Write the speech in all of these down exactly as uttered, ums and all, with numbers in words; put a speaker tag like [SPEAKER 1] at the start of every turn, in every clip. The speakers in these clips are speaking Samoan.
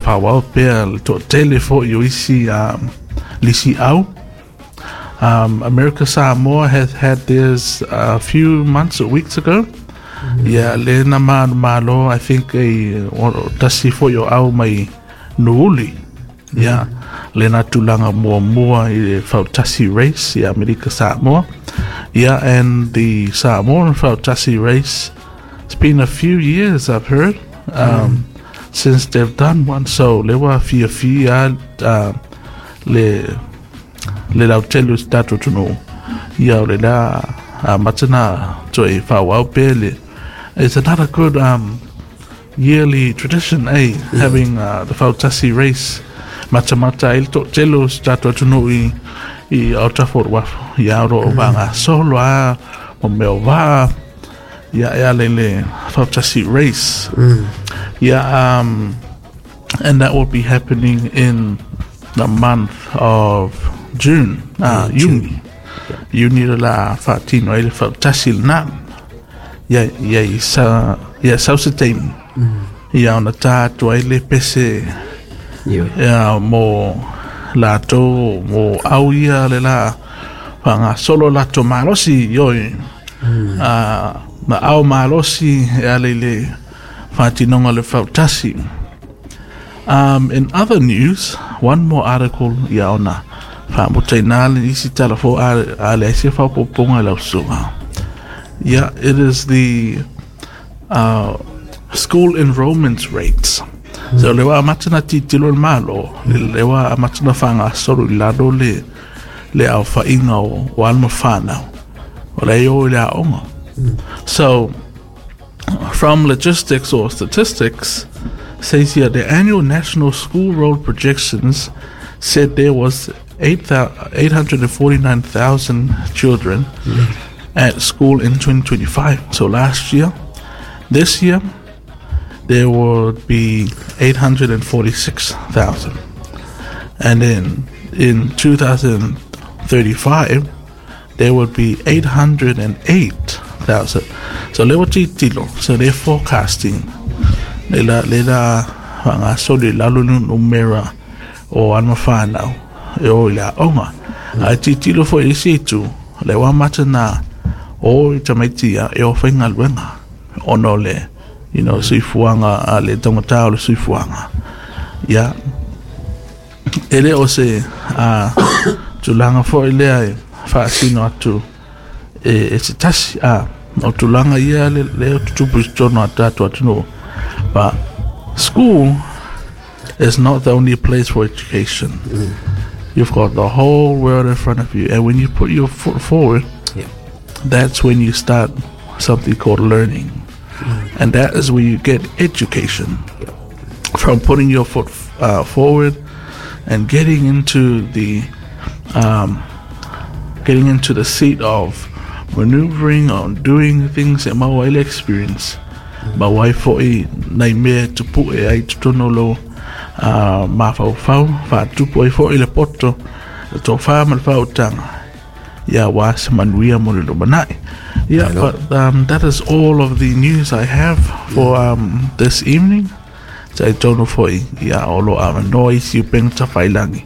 [SPEAKER 1] faaauau pea le toatele foʻi o isi um, lisi au. um, America Samoa has had theirs a few months or weeks ago. Ia le na manumalo, I think e o tasi foʻi o au mai Nuuuli. Ia le na tulaga muamua i le fautasi race i Amerika Samoa. Yeah, and the Samoan Fautasi race, it's been a few years, I've heard, um, since they've done one. So, le ua fiafia uh, le le lautele o se tatou atunuu. Ia o le la amata na toe faaauau pea le. It's another good um, yearly tradition, eh? Having uh, the Fautasi race. Matamata ai le toatele o se tatou atunuu i i autafa o le uafu. Ia o loo faagasolo a mo mea o vaa. Ia e ala i le Fautasi race. Yeah, um, and that will be happening in the month of June, uh, Iuni. Iuni le la faatino ai le fautasi lenā. Ia, ia i sa, ia sau se taimi. Ia ona tā atu ai le pese
[SPEAKER 2] Ioe.
[SPEAKER 1] Ia mo latou mo au ia le la faagasolo latou malosi ioe. Ah, ma ao malosi e ala i le faatinoga o le fautasi. Um, in other news, one more article ia ona faamutaina le isi tala fou a, a leai se faaopoopoga i lau susuga. Yeah, it is the uh, school enrollment rates. So le ua amata na tilotilo le Malo, le ua amata na faagasolo i lalo le le aofaiga o, o alo ma fanau. O le o i le aoga. So, from logistics or statistics, says here the annual national school roll projections said there was eight hundred forty-nine thousand children at school in twenty twenty-five. So last year, this year, there would be eight hundred forty-six thousand. And then in twenty thirty-five, there would be eight hundred eight thousand. So le tilotilo, so they're forecasting le la le la faagasolo i lalo le numera o alo ma fanau e o i le aoga. Ae tilotilo foʻi i isi itu, le ua amata na o i tamaiti ia e o faigaluega ona o le you know, soifuaga a le taugata o le soifuaga. Ia, e le o se uh, tulaga foʻi lea e faasino atu e, e se tasi a o tulaga ia le, le o tutupu i totonu a tatou atunuu. But school is not the only place for education. You've got the whole world in front of you, and when you put your foot forward,
[SPEAKER 2] Yeah.
[SPEAKER 1] that's when you start something called learning, and that is where you get education
[SPEAKER 2] Yeah.
[SPEAKER 1] from putting your foot uh, forward and getting into the um, getting into the seat of maneuvering or doing things e maua ai le experience maua ai foʻi nai mea e tupuʻe ai totonu o lou uh, mafaufau faatupu ai foʻi le poto le tofā ma le faautaga ia auā se manuia mo le lumanai. Yeah,
[SPEAKER 2] Hello.
[SPEAKER 1] but um, that is all of the news I have for um, this evening. Talitonu foʻi ia o lo avanoa isi upega tafailagi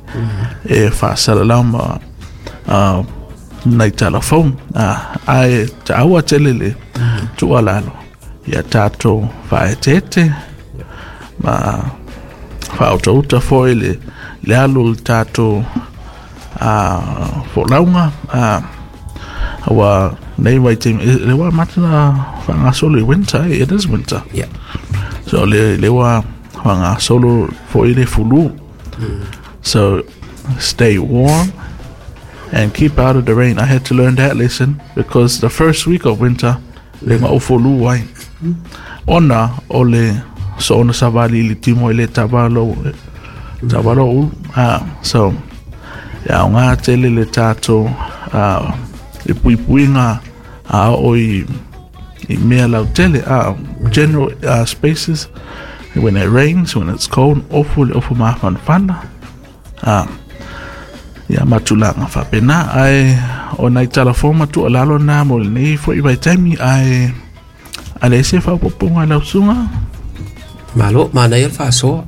[SPEAKER 1] e faasalalau ma uh, nai talafou uh, ae taua tele le tuualalo ia tatou faaeteete ma faautauta foʻi le le alu o le tatou uh, folauga uh, ua nei vaitaimi e- le ua amata na faagasolo i winter, eh? It is winter.
[SPEAKER 2] Yeah.
[SPEAKER 1] So le le ua faagasolo foʻi le fulu. So stay warm and keep out of the rain. I had to learn that lesson because the first week of winter le ga ou fulu ai. Ona o le soona savali i le timo i le tavalo tavalo ulu. Ah, so e aogā tele le tatou uh, le puipuiga a oo i i mea lautele uh, general uh, spaces when it rains, when it's cold, ofu le ofu mafanafana uh, ia ma tulaga faapena ae o nai talafou ma tuualalo na mo lenei foʻi vaitaimi ae a leai se faaopoopoga i lau susuga.
[SPEAKER 2] Malo, manaia le faasoa.